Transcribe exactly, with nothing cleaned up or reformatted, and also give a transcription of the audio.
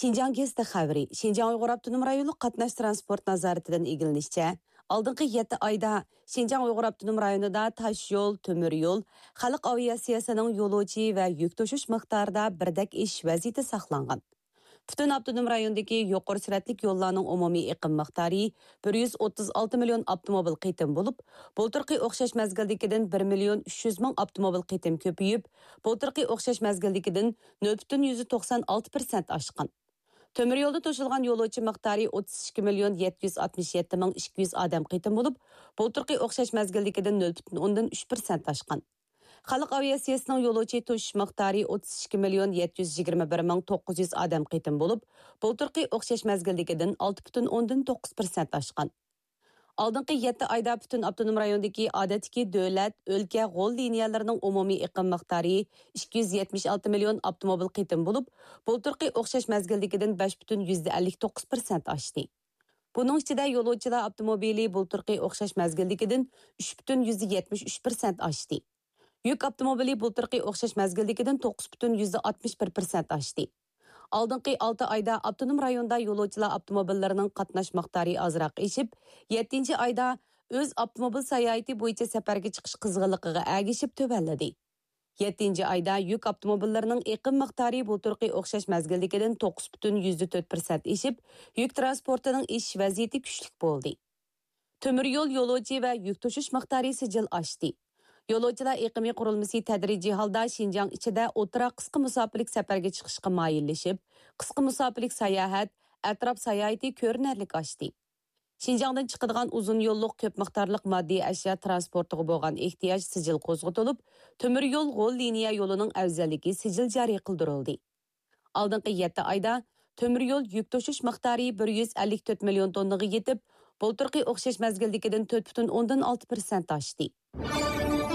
شىنجاڭ گېزىتى خەۋىرى. شىنجاڭ ئۇيغۇر ئاپتونوم رايونلۇق قاتناش تىرانسپورت نازارىتىدىن ئىگىلىنىشىچە، ئالدىنقى يەتتە ئايدا شىنجاڭ ئۇيغۇر ئاپتونوم رايونىدا تاش يول، تۆمۈر يول، خەلق ئاۋىئاتسىيەسىنىڭ يولۇچى ۋە يۈك توشۇش مىقدارىدا بىردەك ئېشىش ۋەزىيىتى ساقلانغان. پۈتۈن ئاپتونوم رايوندىكى يۇقىرى سۈرئەتلىك يوللارنىڭ ئومۇمىي ئېقىم مىقدارى بىر يۈز ئوتتۇز ئالتە مىليون ئاپتوموبىل قېتىم بولۇپ، بۇلتۇرقى ئوخشاش مەزگىلدىكىدىن بىر مىليون ئۈچ يۈز مىڭ ئاپتوموبىل قېتىم كۆپىيىپ، بۇلتۇرقى ئوخشاش مەزگىلدىكىدىن نۆل پۈتۈن يۈزدە توقسان ئالتە پىرسەنت ئاشقان. تۆمۈر يولدا توشۇلغان يولۇچى مىقدارى ئوتتۇز ئىككى مىليون يەتتە يۈز ئاتمىش يەتتە مىڭ ئىككى يۈز ئادەم قېتىم بولۇپ، بۇلتۇرقى ئوخشاش مەزگىلدىكىدىن نۆل پۈتۈن ئوندىن ئۈچ پىرسەنت ئاشقان. خەلق ئاۋىئاتسىيەسىنىڭ يولۇچى توشۇش مىقدارى ئوتتۇز ئىككى مىليون يەتتە يۈز يىگىرمە بىر مىڭ توققۇز يۈز ئادەم قېتىم بولۇپ، بۇلتۇرقى ئوخشاش مەزگىلدىكىدىن ئالتە پۈتۈن ئوندىن توققۇز پىرسەنت ئاشقان. ئالدىنقى يەتتە ئايدا پۈتۈن ئاپتونوم رايوندىكى ئادەتتىكى دۆلەت، ئۆلكە، غول لىنىيەلىرىنىڭ ئومۇمىي ئېقىم مىقدارى ئىككى يۈز يەتمىش ئالتە مىليون ئاپتوموبىل قېتىم بولۇپ، بۇلتۇرقى ئوخشاش مەزگىلدىكىدىن بەش پۈتۈن يۈزدە ئەللىك توققۇز پىرسەنت ئاشتى. بۇنىڭ ئىچىدە يولۇچىلار ئاپتوموبىلى بۇلتۇرقى ئوخشاش مەزگىلدىكىدىن ئۈچ پۈتۈن يۈزدە يەتمىش ئۈچ پىرسەنت ئاشتى. يۈك ئاپتوموبىلى بۇلتۇرقى ئوخشاش مەزگىلدىكىدىن توققۇز پۈتۈن يۈزدە ئاتمىش بىر پىرسەنت ئاشتى. ئالدىنقى ئالتە ئايدا ئاپتونوم رايوندا يولۇچىلار ئاپتوموبىللىرىنىڭ قاتناش مىقدارى ئازراق ئېشىپ، يەتتىنچى ئايدا ئۆز ئاپتوموبىل ساياھىتى بويىچە سەپەرگە چىقىش قىزغىنلىقىغا ئەگىشىپ تۆۋەنلىدى. يەتتىنچى ئايدا يۈك ئاپتوموبىللىرىنىڭ ئېقىم مىقدارى بۇلتۇرقى ئوخشاش مەزگىلدىكىدىن توققۇز پۈتۈن يۈزدە تۆت پىرسەنت ئېشىپ، يۈك تىرانسپورتىنىڭ ئېشىش ۋەزىيىتى كۈچلۈك بولدى. تۆمۈر يول يولۇچى ۋە يۈك توشۇش مىقدارى سىجىل ئاشتى. يولۇچىلار ئېقىمى قۇرۇلمىسى تەدرىجىي ھالدا شىنجاڭ ئىچىدە ئوتتۇرا قىسقا مۇساپىلىك سەپەرگە چىقىشقا مايىللىشىپ، قىسقا مۇساپىلىك ساياھەت، ئەتراپ ساياھىتى كۆرۈنەرلىك ئاشتى. شىنجاڭدىن چىقىدىغان ئۇزۇن يوللۇق كۆپ مىقدارلىق ماددىي ئەشيا تىرانسپورتىغا بولغان ئېھتىياج سىجىل قوزغىتىلىپ، تۆمۈر يول غول لىنىيە يولىنىڭ ئەۋزەللىكى سىجىل جارى قىلدۇرۇلدى. ئالدىنقى يەتتە ئايدا تۆمۈر يول يۈك توشۇش مىقدارى بىر يۈز ئەللىك تۆت مىليون توننىغا يېتىپ، بۇلتۇرقى ئوخشاش مەزگىلدىكىدىن تۆت پۈتۈن ئوندىن ئالتە پىرسەنت ئاشتى.